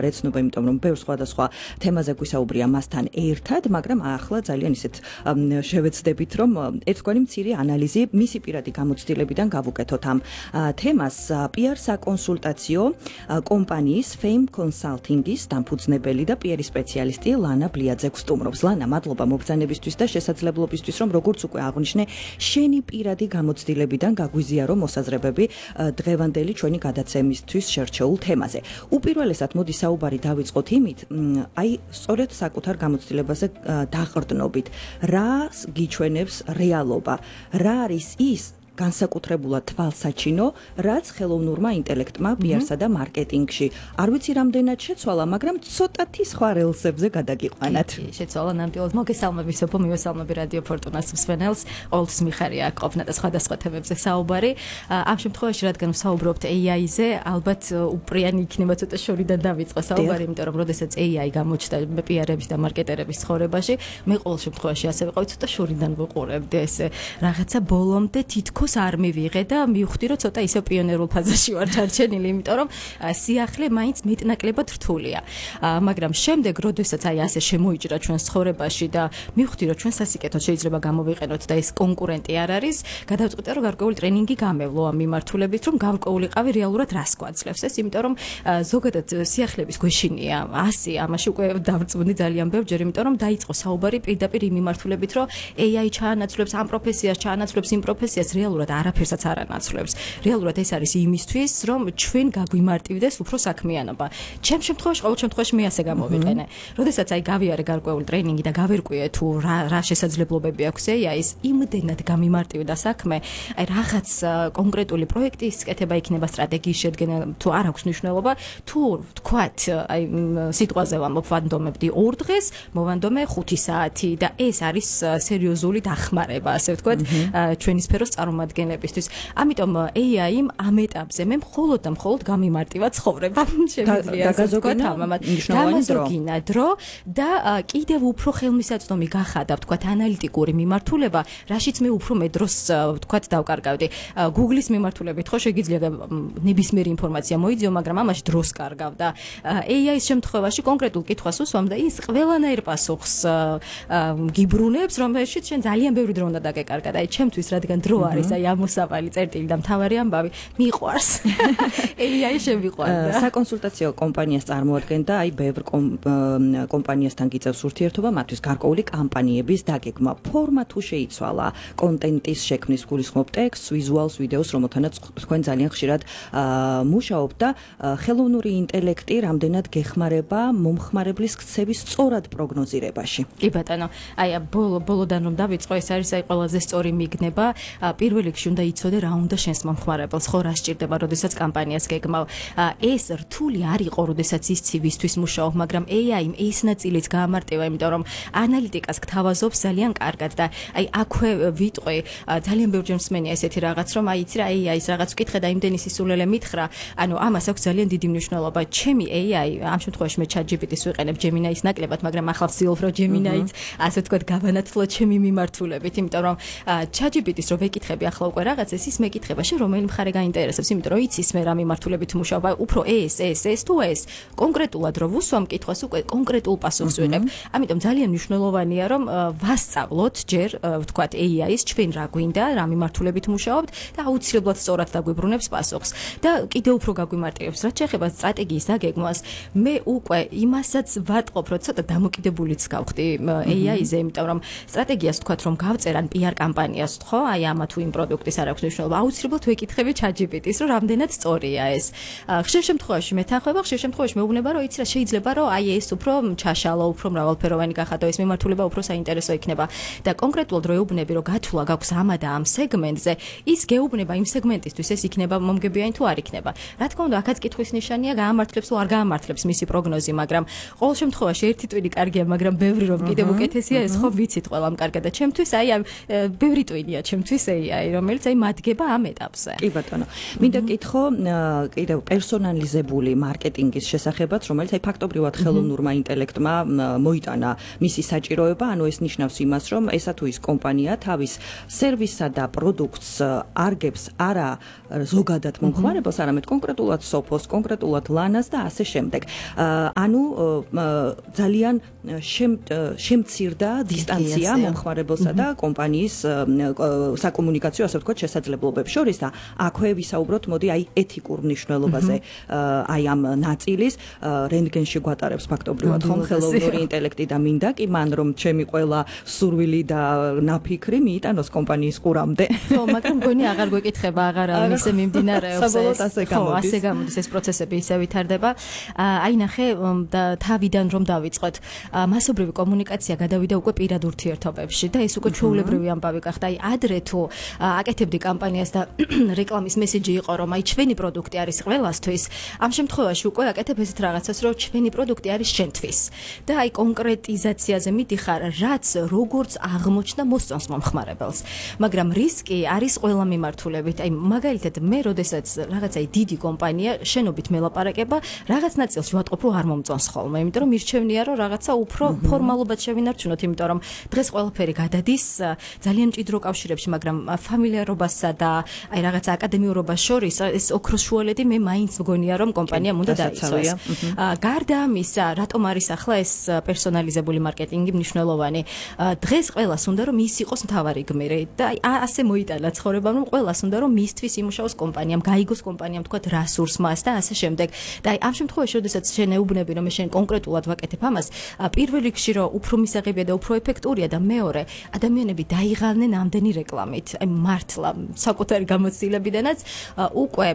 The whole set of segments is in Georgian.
რეცნობა, იმიტომ რომ ბევრ სხვადასხვა თემაზე გვისაუბრია მასთან ერთად, მაგრამ ახლა ძალიან ისეთ შევეცდებით, რომ ერთგვარი მცირე ანალიზი მისი პირადი გამოცდილებიდან გავუკეთოთ ამ თემას. PR საკონსულტაციო კომპანიის Fame Consulting-ის დამფუძნებელი და PR სპეციალისტი ლანა ბლიაძე გვსტუმრობს. ლანა, მადლობა მობრძანებისთვის და შესაძლებლობისთვის, რომ როგორც უკვე აღვნიშნე, შენი პირადი გამოცდილებიდან გაგვიზიარო მოსაზრებები დღევანდელი ჩვენი გადაცემისთვის შერჩეულ თემაზე. უპირველესად მოდი საუბარი დავიწყოთ იმით, აი სწორედ საკუთარ გამოცდილებაზე დაყრდნობით, რა გიჩვენებს რეალობა, რა არის ის განსაკუთრებულად თვალსაჩინო, რაც ხელოვნურმა ინტელექტმა PR-სა და მარკეტინგში. არ ვიცი რამდენად შეცვალა, მაგრამ ცოტათი სხვა რელსებზე გადაგიყვანათ. შეცვალა ნამდვილად. მოგესალმები სოფო, მივესალმები რადიო ფორტუნას მსმენელს. ყოველთვის მიხარია ყოფნა და სხვადასხვა თემებზე საუბარი. ამ შემთხვევაში, რადგან ვსაუბრობთ AI-ზე, ალბათ უპრიანი იქნება ცოტა შორიდან დავიწყო საუბარი, იმიტომ რომ როდესაც AI გამოჩნდა PR-ების და მარკეტერების ცხოვრებაში, მე ყოველ შემთხვევაში ასე ვიყავი, ცოტა შორიდან ვუყურებდი ესე რაღაცა ბოლომდე თითქოს არ მივიღე და მივხვდი, რომ ცოტა ისე პიონერულ ფაზაში ვარ ჩარჩენილი, იმიტომ რომ სიახლე მაინც მეტნაკლებად რთულია. მაგრამ შემდეგ, როდესაც აი ასე შემოიჭრა ჩვენს ცხოვრებაში და მივხვდი, რომ ჩვენ სასიკეთოდ შეიძლება გამოვიყენოთ და ეს კონკურენტი არ არის, გადავწყვიტე, რომ გარკვეული ტრენინგი გამევლო ამ მიმართულებით, რომ გარკვეულიყავი რეალურად რას გვაძლევს ეს, იმიტომ რომ ზოგადად სიახლეების გვეშინია 100, ამაში უკვე დავწმუნდი ძალიან ბევრჯერ, იმიტომ რომ დაიწყო საუბარი პირდაპირ იმ მიმართულებით, რომ AI ჩაანაცვლებს ამ პროფესიას, ჩაანაცვლებს იმ პროფესიას, რეალურად არაფერსაც არ ანაცვლებს. რეალურად ეს არის იმისთვის, რომ ჩვენ გაგვიმარტივდეს უფრო საქმიანობა. ჩემ შემთხვევაში, ყოველ შემთხვევაში მე ასე გამოვიყენე. როდესაც აი გავიარე გარკვეული ტრენინგი და გავერკვიე თუ რა შესაძლებლობები აქვს AI-ის, იმდენად გამიმარტივდა საქმე, აი რაღაც კონკრეტული პროექტის კეთება იქნება, სტრატეგიის შედგენა თუ არ აქვს მნიშვნელობა, თუ ვთქვათ, აი სიტყვაზე ვამბობ, ვანდომებდი 2 დღეს, მოვანდომე 5 საათი და ეს არის სერიოზული დახმარება, ასე ვთქვათ, ჩვენი სფეროს წარმომადგენლებისთვის. ამიტომ AI-იმ ამ ეტაპზე მე მხოლოდ და მხოლოდ გამიმარტივა ცხოვრება. შემიძლია გამოზოგინა დრო და კიდევ უფრო ხელმისაწვდომი გახადა, ვთქვათ, ანალიტიკური მიმართულება, რაშიც მე უფრო მე დროს, ვთქვათ, დავკარგავდი. Google-ის მიმართულებით ხო შეგიძლია ნებისმიერი ინფორმაცია მოიძიო, მაგრამ ამაში დროს კარგავ და AI-ის შემთხვევაში კონკრეტულ კითხვას უსვამ და ის ყველანაირ პასუხს გიბრუნებს, რომელშიც შენ ძალიან ბევრი დრო უნდა დაგეკარგა. აი ჩემთვის, რადგან დრო არის აი ამოსავალი წერტილი და მთავარი ამბავი მიყვარს. AI შემიყვარდა. საკონსულტაციო კომპანიას წარმოადგენდა აი ბევრ კომპანიასთან გიწევს ურთიერთობა, მათთვის გარკვეული კამპანიების დაგეგმა. ფორმა თუ შეიცვალა, კონტენტის შექმნის გულისხმობ ტექსტს, ვიზუალს, ვიდეოს, რომელთანაც თქვენ ძალიან ხშირად მუშაობთ და ხელოვნური ინტელექტი რამდენად გეხმარება მომხმარებლის ქცევის სწორად პროგნოზირებაში. კი ბატონო, აი ბოლოდან რომ დავიწყო, ეს არის აი ყველაზე სწორი მიგნება. პირველ რიგში უნდა იცოდე რა უნდა შენს მომხმარებელს, ხო რა სჭირდება, როდესაც კამპანიას გეგმავ. ეს რთული არ იყო, როდესაც ისცი ვისთვის მუშაობ, მაგრამ AI-იმ ეს ნაწილიც გაამარტივა, იმიტომ რომ ანალიტიკას გთავაზობს ძალიან კარგად და აი აქვე ვიტყვი, ძალიან ბევრჯერ მსმენია ესეთი რაღაც, რომ აი იცი რა AI-ის რაღაც ვკითხე და იმდენი სისულელე მითხრა, ანუ ამას აქვს ძალიან დიდი მნიშვნელობა. ჩემი AI, ამ შემთხვევაში მე ChatGPT-ს ვიყენებ Gemini-ის ნაკლებად, მაგრამ ახლა ვცდილობ, რომ Gemini-იც ასე ვთქვათ გავანათლო ჩემი მიმართულებით, იმიტომ რომ ChatGPT-ს რო ვეკითხები ახლა უკვე რაღაცას, ის მეკითხება, შენ რომელი მხარე გაინტერესებს, იმიტომ რომ იცის მე რა მიმართულებით მუშაობ, უფრო ეს თუ ეს. კონკრეტულად რო ვუსვამ კითხვას, უკვე კონკრეტულ პასუხს ვიღებ. ამიტომ ძალიან მნიშვნელოვანია, რომ ვასწავლოთ ჯერ, ვთქვათ, AI-ის ჩვენ რა გვინდა, რა მიმართულებით მუშაობთ და აუცილებლად სწორად დაგვიბრუნებს პასუხს. და კიდევ უფრო გაგვიმარტივებს, რაც შეეხება სტრატეგიის დაგეგმვას, მე უკვე იმასაც ვატყობ, რომ ცოტა დამოკიდებულიც გავხდი AI-ზე, იმიტომ რომ სტრატეგიას ვთქვათ, რომ გავწერან PR კამპანიას, ხო, აი ამა თუ იმ პროდუქტის არ აქვს მნიშვნელობა, აუცილებლად ვეკითხები ChatGPT-ს, რომ რამდენად სწორია ეს. ხშირ შემთხვევაში მეთანხმება, ხშირ შემთხვევაში მეუბნება, რომ იცი რა, შეიძლება რომ აი ეს უფრო ჩაშალო, უფრო მრავალფეროვანი გახადო, ეს მიმართულება უფრო საინტერესო იქნება. და კონკრეტულად რო ეუბნები, რომ გათვლა გაქვს ამა და ამ სეგმენტზე, ის გეუბნება იმ სეგმენტისთვის, ეს იქნება მომგებიანი თუ არ იქნება. რა თქმა უნდა, აქაც კითხვის ნიშანია, გაამართლებს თუ არ გაამართლებს მისი პროგნოზი, მაგრამ ყოველ შემთხვევაში ერთი ტვინი კარგია, მაგრამ ბევრი რომ კიდევ უკეთესია, ეს ხო ვიცით ყველამ კარგად და ჩემთვის აი ბევრი ტვინია ჩემთვის AI. AI, რომელიც აი მადგება ამ ეტაპზე. კი ბატონო. მინდა კითხო კიდევ პერსონალიზებული მარკეტინგის შესახებაც, რომელიც აი ფაქტობრივად ხელოვნურმა ინტელექტმა მოიტანა მისი საჭიროება, ანუ ეს ნიშნავს იმას, რომ ესა თუ ის კომპანია თავის სერვისსა და პროდუქტს არგებს არა ზოგადად მომხმარებელს, არამედ კონკრეტულად სოფოს, კონკრეტულად ლანას და ასე შემდეგ. ანუ ძალიან შემცირდა დისტანცია მომხმარებელსა და კომპანიის საკომუნიკაციო, ასე ვთქვათ, შესაძლებლობებს შორის და აქვე ვისაუბროთ, მოდი აი ეთიკურ მნიშვნელობაზე აი ამ ნაწილის რენტგენში გვატარებს ფაქტობრივად ხომ ხელოვნური ინტელექტი და მინდა კი მან რომ ჩემი ყველა სურვილი და ნაფიქრი მიიტანოს კომპანიის ყურამდე. ხო, მაგრამ მგონი აღარ გვეკითხება, აღარ ამის მიმდინარეობს საბოლოოდ ასე გამოდის. ასე გამოდის ეს პროცესები ისე ვითარდება. აი ნახე თავიდან რომ დავიწყოთ, მასობრივი კომუნიკაცია გადავიდა უკვე პირად ურთიერთობებში და ეს უკვე ჩვეულებრივი ამბავი გახდა. აი ადრე თუ აკეთებდი კამპანიას და რეკლამის მესიჯი იყო რომ აი ჩვენი პროდუქტი არის ყველასთვის, ამ შემთხვევაში უკვე აკეთებ ესეთ რაღაცას, რომ ჩვენი პროდუქტი არის შენთვის. და აი კონკრეტიზაციაზე მიდიხარ, რაც როგორც აღმოჩნდა მოსწონს მომხმარებელს. მაგრამ რისკი არის ყველა მიმართულებით. აი მაგალითად მე როდესაც რაღაცა დიდი კომპანია შენობით მელაპარაკება, რაღაც ნაწილს ვატყობ რომ არ მომწონს ხოლმე, იმიტომ რომ მირჩევნია რომ რაღაცა უფრო ფორმალურად შევინარჩუნოთ, იმიტომ რომ დღეს ყველაფერი გადადის ძალიან მჭიდრო კავშირებში, მაგრამ ფამილიარობასა და აი რაღაცა აკადემიურობას შორის ეს ოქროს შუალედი მე მაინც მგონია რომ კომპანიამ უნდა დაიცვას. გარდა ამისა, რატომ არის ახლა ეს პერსონალიზებული მარკეტინგი მნიშვნელოვანი? დღეს ყველას უნდა რომ ის იყოს მთავარი გმირი და აი ასე მოიტანა ცხოვრება, რომ ყველას უნდა რომ მისთვის იმუშაოს კომპანიამ, გაიგოს კომპანიამ თქვა რასურს მას და ასე შემდეგ. და აი ამ შემთხვევაში, როდესაც შენ ეუბნები რომ შენ კონკრეტულად ვაკეთებ ამას, პირველ რიგში რომ უფრო მისაღებია და უფრო ეფექტურია და მეორე, ადამიანები დაიღალნენ ამდენი რეკლამით. აი მართლა საკუთარი გამოცდილებიდანაც უკვე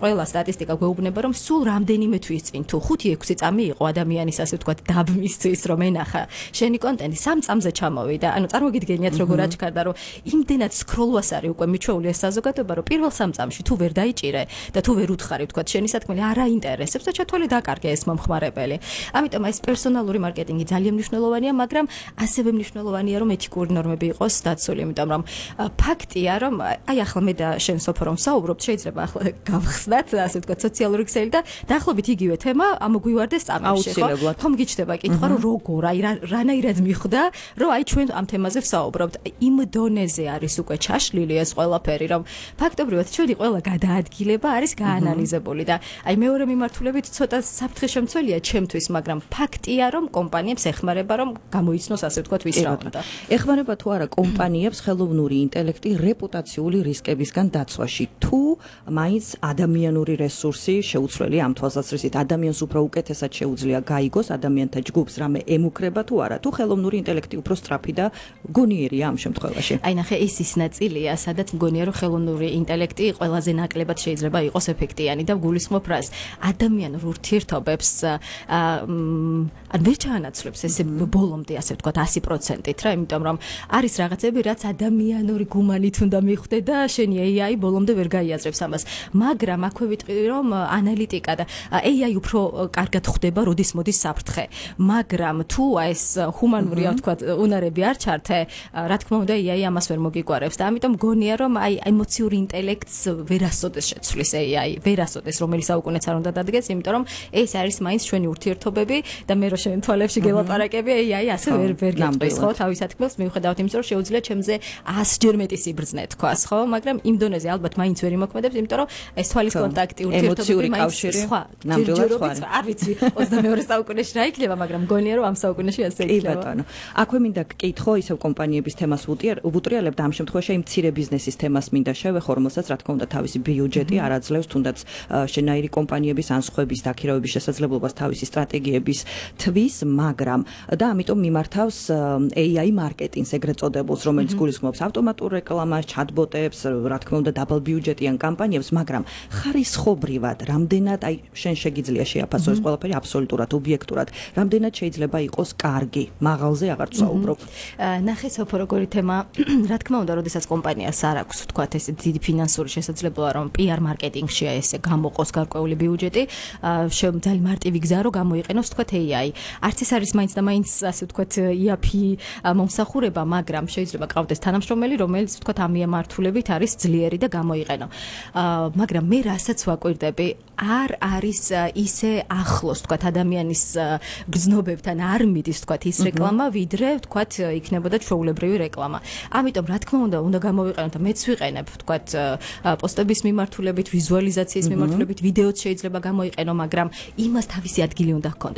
ყველა სტატისტიკა გვეუბნება რომ სულ რამდენიმე თვის წინ თუ 5-6 წამი იყო ადამიანის ასე ვთქვათ დაბმისთვის რომ ენახა შენი კონტენტი 3 წამზე ჩამოვიდა. ანუ წარმოგიდგენიათ როგორ აჩქარდა რომ იმდენად სკროლვას არის უკვე მიჩვეული ეს საზოგადოება რომ პირველ 3 წამში თუ ვერ დაიჭირე და თუ ვერ უთხარი ვთქვათ შენი სათქმელი არ აინტერესებს და ჩათვალე დაკარგე ეს მომხმარებელი. ამიტომ ეს პერსონალური მარკეტინგი ძალიან მნიშვნელოვანია, მაგრამ ასევე მნიშვნელოვანია რომ ეთიკური ნორმები იყოს დაცული, იმიტომ რომ ფაქტია რომ აი ახლა მე და შენ სოფო რომ საუბრობთ, შეიძლება ახლა გავხსნათ ასე ვთქვათ სოციალური ქსელი და დაახლოებით იგივე თემა ამოგვივარდეს წამებში, ხო? ხომ გიჩნდება კითხვა რომ როგორ აი რანაირად მიხვდა რომ აი ჩვენ ამ თემაზე ვსაუბრობთ. იმ დონეზე არის უკვე ჩაშლილი ეს ყველაფერი, რომ ფაქტობრივად ჩვენი ყველა გადაადგილება არის გაანალიზებული და აი მეორე მიმართულებით ცოტა საფრთხე შემცველია ჩემთვის, მაგრამ ფაქტია რომ კომპანიებს ეხმარება რომ გამოიცნოს ასე ვთქვათ ვის რა უნდა. ეხმარება თუ არა კომპანიებს ხელოვნური ინტელექტი რეპუტაციული რისკებისგან დაცვაში, თუ მაინც ადამიანური რესურსი შეუცვლელი ამ თვალსაზრისით ადამიანს უფრო უკეთესად შეუძლია გაიგოს ადამიანთა ჯგუფს რამე ემუქრება თუ არა, თუ ხელოვნური ინტელექტი უფრო სწრაფი და გონიერია ამ შემთხვევაში. აი ნახე ეს ის ნაწილია, სადაც მგონია რომ ხელოვნური ინტელექტი ყველაზე ნაკლებად შეიძლება იყოს ეფექტიანი და გულისხმობ რას ადამიანურ ურთიერთობებს არ ვერ ჩაანაცვლებს ესე ბოლომდე ასე ვთქვათ 100%-ით რა, იმიტომ რომ არის რაღაცები რაც ადამიანური გუმანით უნდა მიხვდე და შენი AI ბოლომდე ვერ გაიაზრებს ამას. მაგრამ აქვე ვიტყვი რომ ანალიტიკა და AI უფრო კარგად ხვდება როდის მოდის საფრთხე. მაგრამ თუ ეს ჰუმანური ვთქვათ უნარები არ ჩართე, რა თქმა უნდა AI ამას ვერ მოგიგვარებს და ამიტომ გონია რომ აი ემოციური ინტელექტს ვერასოდეს შეცვლის AI, ვერასოდეს რომელიც საუკუნეც არ უნდა დადგეს, იმიტომ რომ ეს არის მაინც ჩვენი ურთიერთობები და მე რო შენ თვალებში გელაპარაკები AI ასე ვერ გეტყვის, ხო, თავის ათქმელს მიუხედავად იმისა რომ შეუძლია ჩემზე 100-ჯერ მეტი სიბრძნე თქვას, ხო, მაგრამ იმ დონეზე ალბათ მაინც ვერ იმოქმედებს, იმიტომ რომ ეს თვალის კონტაქტი ურთიერთობები მაინც სხვა. ნამდვილად სხვა. არ ვიცი 22 საუკუნეში რა იქნება, მაგრამ მგონია რომ ამ საუკუნეში ასე იქნება. კი ბატონო. აქვე მინდა გკითხო ისევ კომპანიების თემას ვუტრიალებ და ამ შემთხვევაში იმ მცირე ბიზნესის თემას მინდა შევეხო, რომელსაც რა თქმა უნდა თავისი ბიუჯეტი არ აძლევს, თუნდაც შენაირი კომპანიების ან სხვების დაქირავების შესაძლებლობას თავისი სტრატეგიების თვის, მაგრამ და ამიტომ მიმართავს AI მარკეტინგს ეგრეთ წოდებულს, რომელიც გულისხმობს ავტომატურ რეკლამას, ჩატბოტებს, რა თქმა უნდა დაბალ ბიუჯეტიან კამპანიებს, მაგრამ ხარისხობრივად რამდენად აი შენ შეგიძლია შეაფასო ეს ყველაფერი აბსოლუტურად ობიექტურად, რამდენად შეიძლება იყოს კარგი, მაღალზე აღარ ვსაუბრობ. ნახე სოფო როგორი თემა, რა თქმა უნდა, როდესაც კომპანიას არ აქვს ვთქვათ ეს დიდი ფინანსური შესაძლებლობა რომ PR მარკეტინგში ესე გამოყოს გარკვეული ბიუჯეტი, ძალიან მარტივი გზა რომ გამოიყენოს ვთქვათ AI. არც ეს არის მაინც და მაინც ასე ვთქვათ იაფი მომსახურება, მაგრამ შეიძლება ყავდეს თანამშრომელი, რომელიც ვთქვათ, ამ მიემართულებით არის ძლიერი და გამოიყენო. მაგრამ მე რასაც ვაკვირდები, არ არის ისე ახლოს, ვთქვათ, ადამიანის გრძნობებთან არ მიდის, ვთქვათ, ის რეკლამა, ვიდრე, ვთქვათ, იქნებოდა ჩვეულებრივი რეკლამა. ამიტომ, რა თქმა უნდა გამოვიყენოთ და მეც ვიყენებ, ვთქვათ, პოსტების მიმართულებით, ვიზუალიზაციის მიმართულებით, ვიდეოც შეიძლება გამოიყენო, მაგრამ იმას თავისი ადგილი უნდა ჰქონდეს.